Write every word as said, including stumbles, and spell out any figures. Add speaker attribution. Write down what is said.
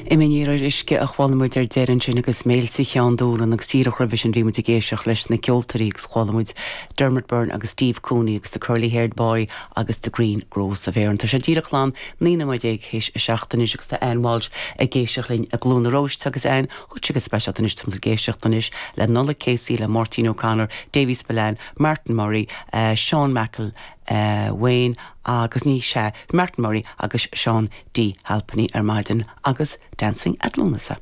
Speaker 1: Imní ar uisce a chuala muid ar deireadh ansin agus Méilte Cheann Dúlann agus díreach roimhe sin bhí muid ag éisteacht leis na ceoltóirí agus chuala muid Dermot Byrne agus Steve Cooney agus the Curly Haired Boy agus the Green Gross of Erin. Tá sé díreach lán naoi nóiméad déag théis a seacht anois agus tá Ann Walsh ag éisteacht linn i gCluain na Róiste agus Ann chuid go speisialta anois tá ag éisteacht anois le Nollaig Casey le Martin O'Connor, Davy Spillane, Martin Murray, uh, Sean Mackle, uh, Wayne agus ní sé Martin Murray agus Sean D Halpenny ar maidin agus Dancing at Lughnasa.